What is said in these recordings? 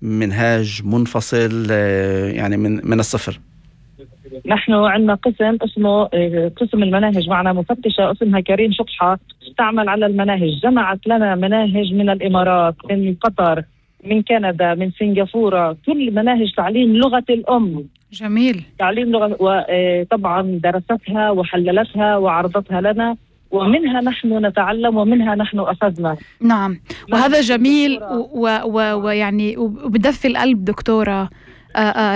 منهاج منفصل يعني من الصفر؟ نحن عندنا قسم اسمه قسم المناهج، معنا مفتشة اسمها كريم شطحة تعمل على المناهج. جمعت لنا مناهج من الإمارات، من قطر، من كندا، من سنغافورة، كل مناهج تعليم لغة الأم. جميل. تعليم لغة، وطبعا درستها وحللتها وعرضتها لنا، ومنها نحن نتعلم ومنها نحن أخذنا. نعم، وهذا جميل ويعني وبدفي القلب دكتورة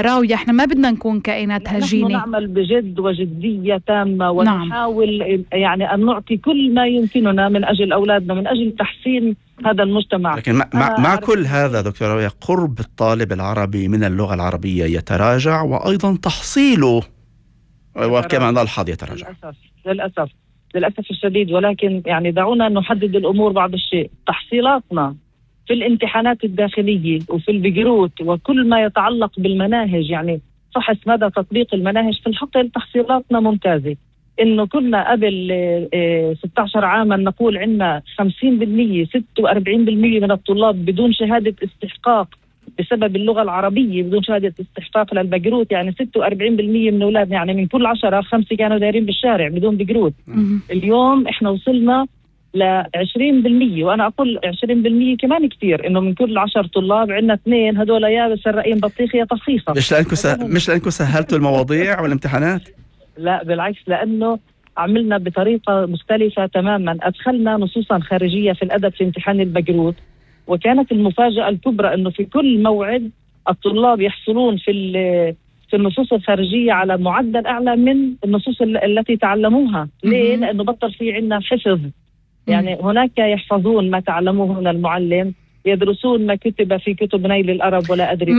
راوية. احنا ما بدنا نكون كائنات هجينة، نحن نعمل بجد وجدية تامة ونحاول يعني أن نعطي كل ما يمكننا من أجل أولادنا، من أجل تحسين هذا المجتمع. لكن مع كل هذا دكتورة راوية، قرب الطالب العربي من اللغة العربية يتراجع، وأيضا تحصيله وكما نلحظ يتراجع للأسف الشديد. ولكن يعني دعونا نحدد الأمور بعض الشيء. تحصيلاتنا في الامتحانات الداخلية وفي البقروت وكل ما يتعلق بالمناهج، يعني فحص مدى تطبيق المناهج في الحقل، تحصيلاتنا ممتازة. إنه كنا قبل 16 عاما نقول عندنا 50% 46% من الطلاب بدون شهادة استحقاق بسبب اللغة العربية، بدون شهادة استحقاق للبقروت. يعني 46% من أولادنا، يعني من كل 10 5 كانوا دايرين بالشارع بدون بقروت. اليوم إحنا وصلنا ل20%، وأنا أقول 20% كمان كتير، إنه من كل 10 طلاب عندنا 2 هدول يا سرقين بطيخ يا طخيخة. مش لأنكم سهلتوا المواضيع والامتحانات؟ لا بالعكس، لأنه عملنا بطريقة مختلفة تماما. أدخلنا نصوصا خارجية في الأدب في امتحان البقروت، وكانت المفاجأة الكبرى إنه في كل موعد الطلاب يحصلون في النصوص الخارجية على معدل أعلى من النصوص التي تعلموها. ليه؟ لأنه بطل في عنا حفظ. يعني هناك يحفظون ما تعلموه من المعلم، يدرسون ما كتب في كتب نيل الأرب ولا أدري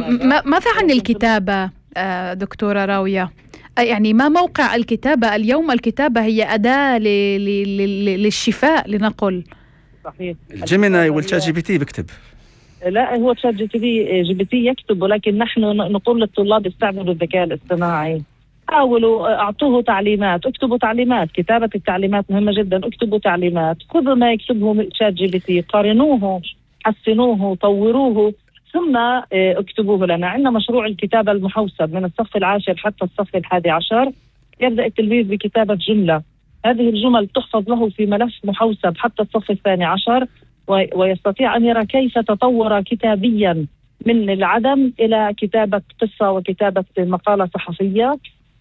ماذا عن الكتابة دكتورة راوية؟ يعني ما موقع الكتابة اليوم؟ الكتابة هي أداة للشفاء لنقل. صحيح. الجيميناي والشات جي بي تي بكتب. لا، هو شات جي بي تي يكتب، ولكن نحن نقول للطلاب استعملوا الذكاء الاصطناعي، حاولوا اعطوه تعليمات، اكتبوا تعليمات. كتابة التعليمات مهمة جدا. اكتبوا تعليمات، خذوا ما يكتبه شات جي بي تي، قارنوه، حسنوه، طوروه، ثم اكتبوه لنا. عندنا مشروع الكتابة المحوسب من الصف 10 حتى الصف 11. يبدأ التلميذ بكتابة جملة، هذه الجمل تحفظ له في ملف محوسب حتى الصف 12، ويستطيع أن يرى كيف تطور كتابيا من العدم إلى كتابة قصة وكتابة مقالة صحفية.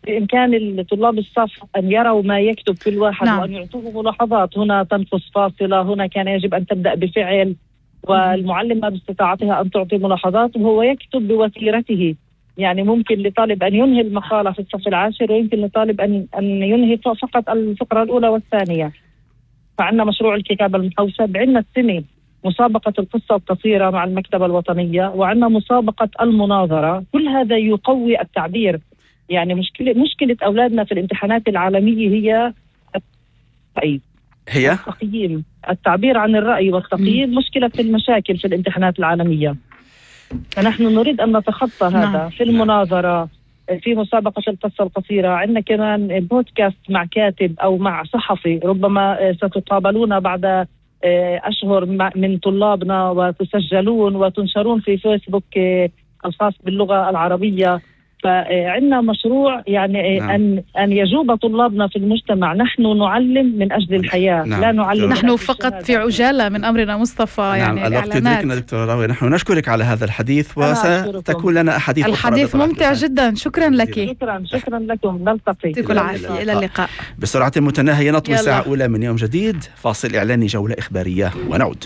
بإمكان الطلاب الصف أن يروا ما يكتب كل واحد. نعم. وأن يعطوه ملاحظات، هنا تنقص فاصلة، هنا كان يجب أن تبدأ بفعل، والمعلمة باستطاعتها أن تعطي ملاحظات وهو يكتب بوتيرته. يعني ممكن لطالب أن ينهي المقالة في الصف 10، ويمكن لطالب أن ينهي فقط الفقرة الأولى والثانية. فعندنا مشروع الكتابة المحوسب. عندنا السنة مسابقة القصة القصيرة مع المكتبة الوطنية، وعندنا مسابقة المناظرة. كل هذا يقوي التعبير. يعني مشكلة أولادنا في الامتحانات العالمية هي التقييم، التعبير عن الرأي والتقييم. مشكلة في المشاكل في الامتحانات العالمية، فنحن نريد أن نتخطى هذا. في المناظرة، في مسابقة القصة القصيرة، عندنا كمان بودكاست مع كاتب أو مع صحفي. ربما ستقابلون بعد أشهر من طلابنا وتسجلون وتنشرون في فيسبوك الخاص باللغة العربية. فعندنا مشروع يعني أن يجوب طلابنا في المجتمع. نحن نعلم من أجل الحياة. لا نعلم. نحن فقط في عجالة من أمرنا مصطفى. يعني الوقت يدركنا دكتورة راوية. نحن نشكرك على هذا الحديث، وستكون لنا أحاديث أخرى. الحديث ممتع جدا. شكرا لك. شكرا لكم. نلتقي. يعطيكم العافية. إلى اللقاء. بسرعة متناهية نطوي ساعة أولى من يوم جديد. فاصل إعلاني، جولة إخبارية، ونعود.